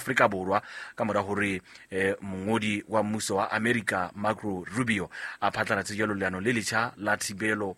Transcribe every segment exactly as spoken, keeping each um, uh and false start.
Afrika Borwa ka mora hore eh, mongodi wa mmuso wa Amerika Marco Rubio a phatlalatse jalo leano le letjha la thibelo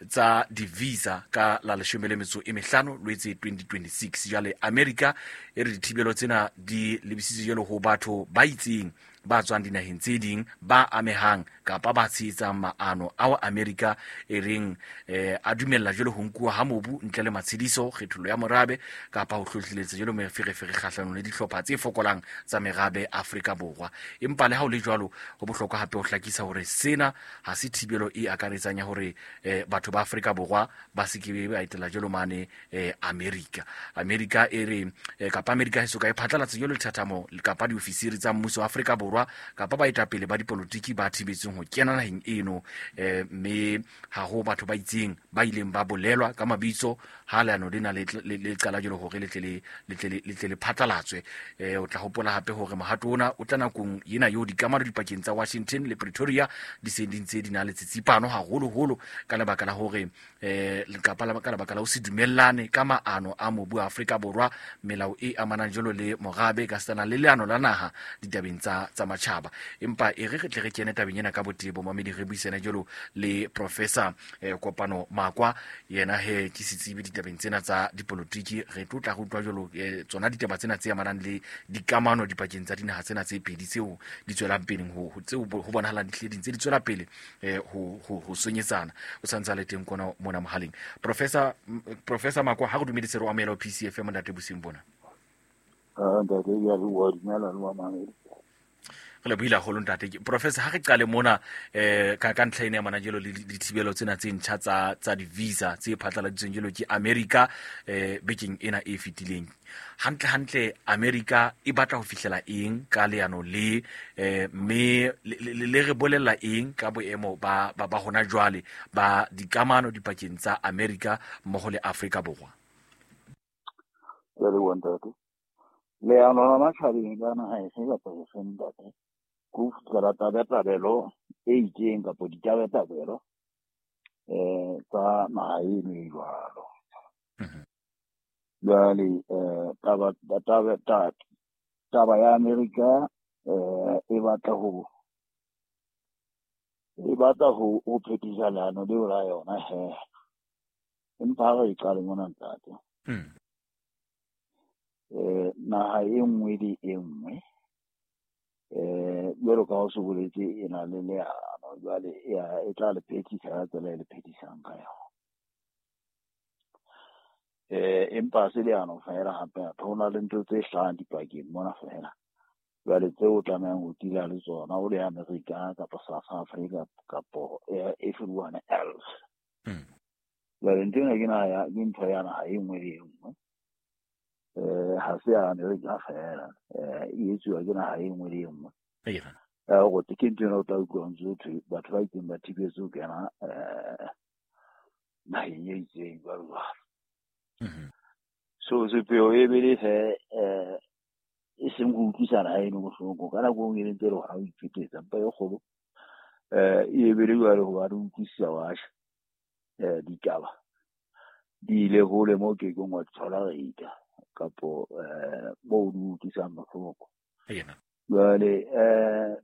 tsa di-visa ka la leshome le metso e mehlano Lwetse twenty twenty-six. Jwale Amerika e re dithibelo tsena di lebisitswe jwalo ho batho ba itseng ba tswang dinaheng tse ding ba amehang kapa ba tshehetsang maano ao Amerika e reng eh, a dumella jwalo ho nkuwa ha mobu ntle le matshediso, kgethollo ya morabe kapa ho hlohleletsa jwalo meferefere kgahlanong le dihlopha tse fokolang tsa merabe Afrika Borwa. Empa le ha ho le jwalo, ho bohlokwa hape ho hlakisa hore sena ha se thibelo e akaretsang ya hore eh, batho ba Afrika Borwa ba se ke ba etela jwalo mane eh, Amerika. Amerika e re eh, kapa Amerika e soka e phatlalatsa jwalo lethathamo kapa diofisiri tsa mmuso wa Afrika Borwa kapa baetapele ba dipolotiki ba thibetsweng ho kena naheng eno, eh, mme ha ho batho ba itseng ba ileng ba bolelwa ka mabitso ha leano lena le, le, le qala jwalo hore le tle le, le tle le, le tle le phatlalatswe. Eh, o tla hopola hape hore mohato ona o tla nakong ena eo dikamano dipakeng tsa Washington le Pretoria di seng di ntse di na le tsitsipano haholoholo ka lebaka la hore eh, kapa la, ka lebaka la ho se dumellane ka maano a mobu wa Afrika Borwa, melao e amanang jwalo le morabe ka setsana le leano la naha ditabeng tsa, tsa matjhaba. Empa e re re tle re kene tabeng ena ka botebo, mamedi, re buisane jwalo le Professor eh, Kopano Makwa, yena he ke setsebi ditabeng tsena tsa dipolotiki. Re tlo tla re utlwa jwalo eh, tsona ditaba tsena tse amanang le dikamano dipakeng tsa dinaha tsena tse pedi tseo di tswelang pele ho, ho tseo ho bonahalang di hlile di ntse di tswela pele eh, ho, ho, ho sonyetsana. O sa ntse a le teng kona mona mohaleng. Professor, Professor Makwa, ha re dumedise re o amohela ho P C F M ntate bosiung bona. Ah, ntate, ya re wa dumela le wa mamedi. Re lebohile haholo ntate. Professor, ha re qale mona eh ka ka ntlha ena ya mana jwalo le dithibelo tsena tse ntjha tsa tsa di-visa tse phatlaladitsweng jwalo ke Amerika eh bekeng ena e fetileng. Hantle hantle Amerika e batla ho fihlela eng ka leano le eh mme le, le, le re bolella eng ka boemo ba, ba, ba hona jwale ba dikamano dipakeng tsa Amerika mmoho le Afrika Borwa? Ke a leboha ntate. Leano la matjhabeng ka naha efe kapa efe ntate, ke ho fihlela tabatabelo e itseng kapa ditabatabelo eh tsa naha eno e jwalo. Mhm. Jwale eh taba, taba, taba, taba ya Amerika eh e batla ho, e batla ho, ho phethisa leano leo la yona he. Empa ha re e qale mona ntate. Mm. Eh, naha e nngwe le e nngwe eh jwalo ka ha o se boletse e na le leano, jwale e a, e tla le phethisa ka tsela e le phethisang ka yona. Eh, empa se leano feela hape, hape ho na le ntho tse hlahang dipakeng mona feela. Jwale tseo o tlamehang ho tila le tsona o le Amerika kapa South Africa kapa, eh, everyone else. Mm. Jwale ntho ena ke naha ya, ke ntho ya naha e nngwe le e nngwe. Eh, ha se ya Amerika feela, eh, e etsuwa ke naha e nngwe le e nngwe. Eya. Eh, hore ke ntho ena o tla utlwa ntse ho thwe batho ba itseng ba thibetswe ho kena, eh, naheng e itseng jwalo jwalo. Mhm. So sepheo e be le he, eh, e seng ho utlwisana ha eno bohloko. Ka nako e nngwe e ntse e le hona ho iphetetsa, empa e kgolo, eh, e be le jwale hobane o utlwisisa wa tjha, eh, ditaba di ile hole moo ke keng wa di thola reita kapo, eh, moo di utlwisang bohloko. Eya. Jwale, eh,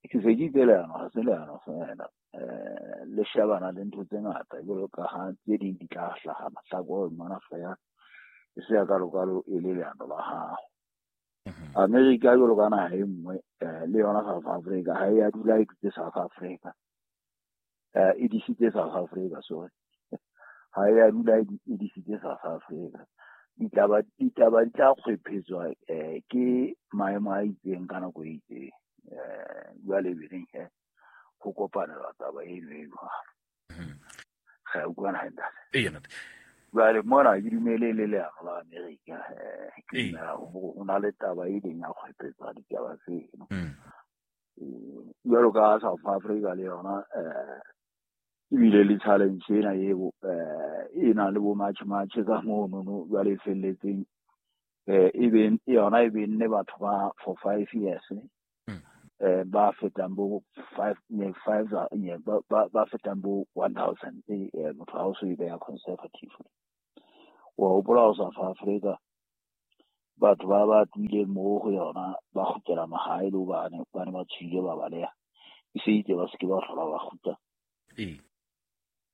ke se ke itse leano, ha se leano feela. Eh, le shebana le ntho tse ngata jwalo ka ha tse ding di tla hlaha mahlakore mona feela, e se ya kalokalo e le leano la hao. Mhm. Amerika jwalo ka naha e nngwe, eh, le yona South Africa, ha e a dula e dutse South Africa. Eh, e disitse South Africa, sorry. Ha e a dula e di-, e disitse South Africa. Ditaba, ditaba di tla kgwephetswa, eh, ke maemo a itseng ka nako e itseng. Eh, jwale be reng he, ho kopanelwa taba eno e jwalo. Mhm. Re a utlwana he, ntate? Eya, ntate. Jwale mona ke dumele le leano la Amerika, eh, ke Ee. dumela hore ho na le taba e leng ya kgwephetsa ditaba tseno. Mm. Eh, jwalo ka South Africa le yona, eh, ebile le challenge ena eo, eh, e na le bo match match ka mono no, jwale e felletseng, eh, e be yona e be nne batho ba for five years, Mm. eh, ba fetang bo five, ne, five, ne, ba, ba, ba fetang bo one thousand, eh, eh, motho ha o so e beha conservative. Wa hopola ho South Africa Batho ba ba tlohileng moo go yona ba kgutlela mahae le hobane ba ne ba tshohile ba baleha. E se itse ba se ke ba hlola ba kgutla. Ee.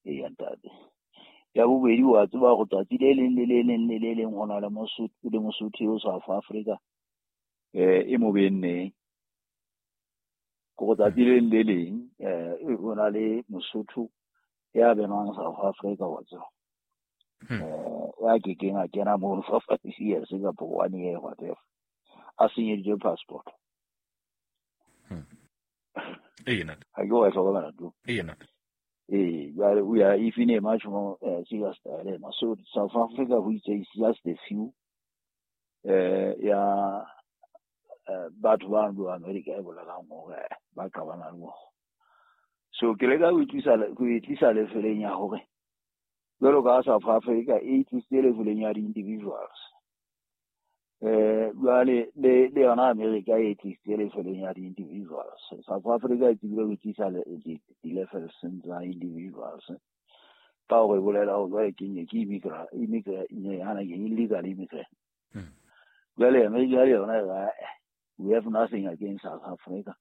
Eya ntate. Ya bobedi wa tseba hore tsatsi le leng le le leng le le leng ho na le Mosotho le Mosotho eo South Africa eh e mo benneng. Ko tsatsi le leng le leng eh ho na le Mosotho ya benwang South Africa wa tseba. Hmm. Eh ya kekeng a kena mono for five years kapa one year whatever. A senyeditswe passport. Hmm. Ee ntate. Ha ke wa e hlokomela tu. Ee ntate. Eh, jwale we are even a much more uh, serious dilemma. So South Africa, which is just a few, uh, ya uh, batho ba ndo America e bolelang hore ba qabana le bona. So ke leka ho itlisa ho itlisa lefeleng ya hore jwalo ka South Africa e itlisitse lefeleng ya di-individuals. Eh, jwale le le yona America e tlisitse lefeleng ya di-individuals. South Africa e tsebile ho itlisa di-levels tsa individuals. Ka hore e bolela hore jwale ke nye ke immigrant, immigrant, yana ke illegal immigrant. Hmm. Jwale America le yona e re, we have nothing against South Africa.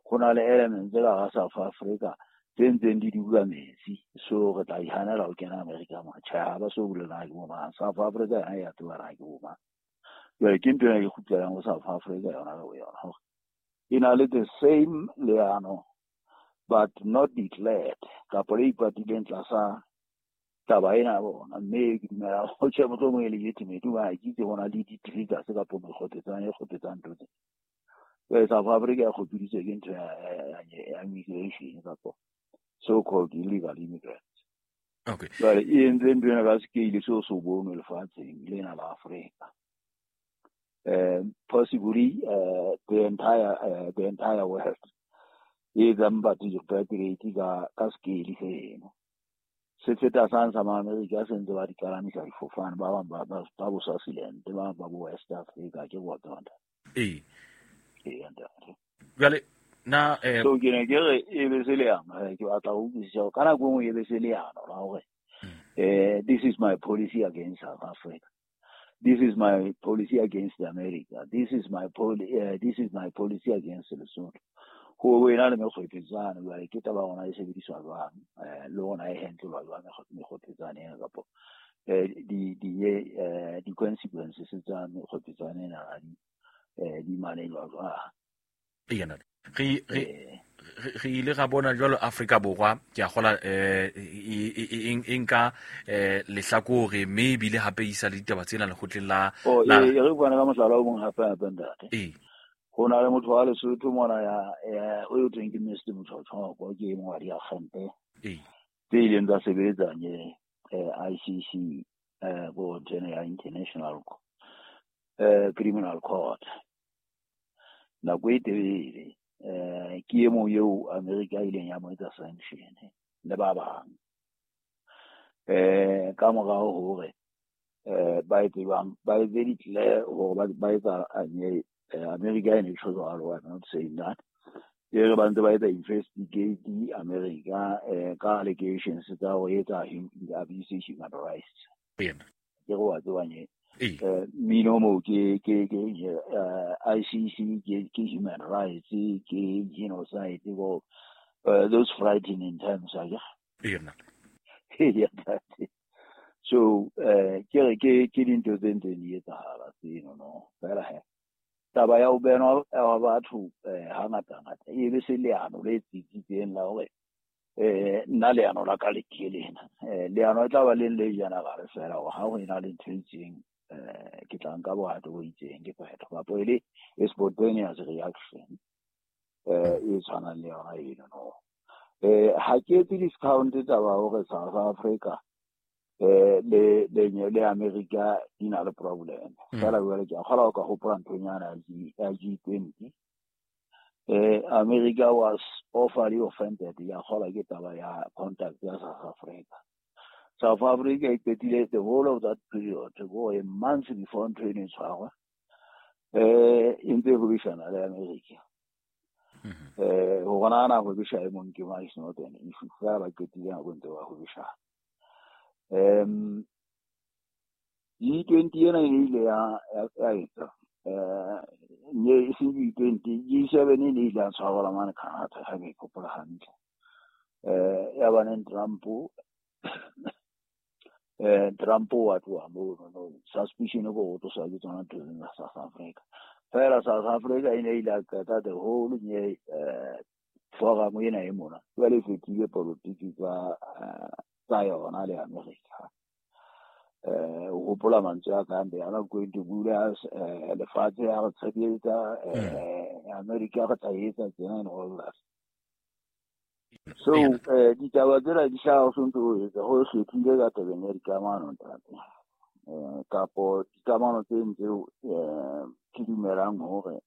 Ho na le elements tse ka hara South Africa tse ntseng di dula metsi. So re tla ihanela ho kena America mo. Tjhe, ha ba so bolela ke bo mang. South Africa yona e ya tseba na ke bo mang. Jwale ke ntho ena ke kgutlelang ho South Africa yona ka boyona hore e na le the same leano but not declared kapa le ipatileng tlasa taba ena ya bona. Mme ke dumela ho tjhe mohlomong e legitimate hobane ke itse ho na le di-triggers kapa mekgotetsang e kgotetsang ntho tse. Jwale South Africa e kgopiditswe ke ntho ya, ya, ya, ya immigration kapa so-called illegal immigrants. Okay. Jwale e entse ntho ena ka scale seo se bonwe lefatsheng lena la Afrika. Um, possibly uh, the entire uh, the entire world e etsang batho di-repatriate ka ka scale seno. Se feta sang sa ma-Amerika se ntse ba di kalamisa difofane, ba bang ba, ba, ba bo Swaziland, ba bang ba bo West Africa, ke bo tsona. Ee. Ee, ntate. Jwale na eh So ke ne ke re e be se leano, eh, ke batla ho utlwisisa hore ka nako e nngwe e be se leano la hore, eh, this is my policy against South Africa. This is my policy against America. This is my poli-, uh, this is my policy against Lesotho. Ho wena le mekgwepetsane, jwale ke taba hona e sebediswa jwang, eh, le hona e handle-wa jwang mekgwepetsane ena kapa, eh, di, di, eh, di-consequences tsa mekgwepetsane ena ha di, eh, di manejwa jwang. Ee, ntate. Re, re, Eh. re, re ile ra bona jwalo Afrika Borwa, ke a kgola, eh, e, e, e, e, e nka, eh, lehlakore, mme ebile hape e isa le ditaba tsena lekgotleng la, Oh, la e, e re bua ka mohlala o mong hape hape ntate. Ee. Ho na le motho wa Lesotho mona ya, ya, o eo thweng ke Mister Motshotshoko, ke e mong wa diakgente Ee. tse ileng tsa sebetsa nye, eh, I C C, eh, ko ntho ya International, eh, Criminal Court. Nako e telele, eh, ke e mong eo America e ileng ya mo etsa sanction le ba bang. Eh, ka morao hore, eh, ba etse jwang, ba etse declare hore ba, ba etsa, eh, eh, America e ne tjho jwalo, I'm not saying that. E re ba ntse ba etsa investigate America, eh, ka allegations tsa ho etsa hum-, abuse human rights. Ee. Ke re wa tseba nye. Ee. Eh, mmino moo ke, ke, ke, eh, I C C, ke, ke human rights, ke genocide, go, eh, those frightening terms, I guess. Ee, nna. Ee, ntate. So, eh, ke re ke, ke dintho tse ntseng di etsahala tseno, no. Fela he, taba ya ho benwa wa batho, eh, hangata-ngata, e be se leano le tsitsitseng la hore, eh, nna leano la ka le ke lena. Eh, leano e tla ba le le general fela hore ha ho ena le ntho e itseng, eh, ke tla nka bohato bo itseng, ke phetho. Kapa e le e spontaneous reaction, eh, e tshwanang le yona eno, no. Eh, ha ke etse discount taba hore South Africa, eh, le, le, le America di na le problem. Mm. Fela jwale ke a kgolwa o ka hopola nthonyana ya G, ya G twenty. Eh, America was awfully offended. Ya kgolwa ke taba ya contact ya South Africa. South Africa e qetile the whole of that period, go a month before ntho eno e tshwarwa, eh, e ntse e hwebishana le America. Mm-hmm. Eh, ho bona na hwebisha e mong ke mang is not an issue. Fela ba qetile nako ntse ba hwebishana. Um, G twenty ena e ile ya ya etsa eh ne e seng G twenty, G seven e ile ya tshwarelwa mane Canada, ha ke hopola hantle. Eh ya ba neng Trump eh Trump wa tloha mono, no suspicion ko go tlosa ke tsona ntho tsa South Africa. Fela South Africa e ne ile ya qeta the whole nye eh forum ena e mona. Jwale e fetile politiki tsa tsa yona le America. Eh o hopola mantswe a ka they are not going to bully us, eh lefatshe ha re tshepetsa, eh America re tla etsa tsena and all that. So eh ditaba tsena di hlaha ho sontso ho etsa ho hlwekile ka tabeng ya dikamano ntate. Eh kapo dikamano tse ntseo eh ke dumelang hore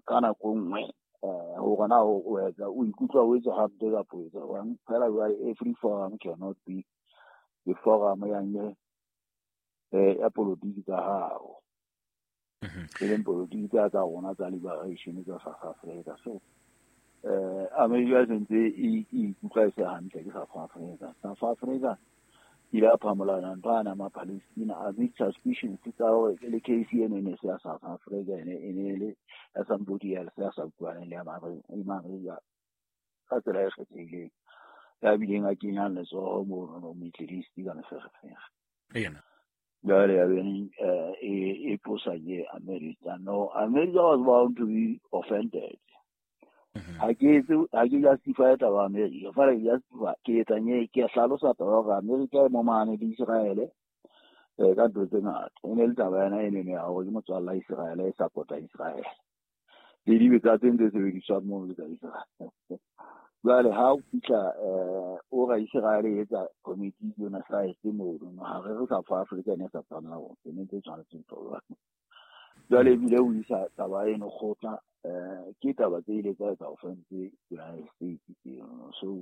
ka nako e nngwe eh hore na o etsa o ikutlwa o etsa hampe kapa o etsa jwang. Fela jwale every forum cannot be the forum ya nye eh ya politiki tsa hao. E leng politiki tsa tsa rona tsa liberation tsa South Africa. So eh America sentse e ikutlwa e se hantle ke South Africa. South Africa ile ya phamolana ntho ana ma Palestina a big suspicions tsa hore le case eno e ne se ya South Africa, e ne e ne le ya somebody else ya sa utlwaneng le ya America ka tsela e kgethehileng, ya bileng a kenyang letsoho mono no Middle East ka meferefere. Ena. Jwale ya beneng e e tlosa ke America. No, America was bound to be offended. Ha ke etse ha ke justify taba America, fela ke justify ke etsa nye ke hlalosa taba hore America e momahane le Israel eh ka ntho tse ngata. E ne le taba ena e ne ya hore ke motswalla Israel e support-a Israel. Le dibetsa tse ntse sebediswang mono le tsa Israel. Jwale ha o fihla eh o ra Israel e etsa committee genocide mono, ha re re South Africa ne sa tshwanela hore ke ne tse tshwanetseng ho. Jwale ebile o isa taba eno kgotla eh ke taba tse ile tsa etsa offense United States tseno. So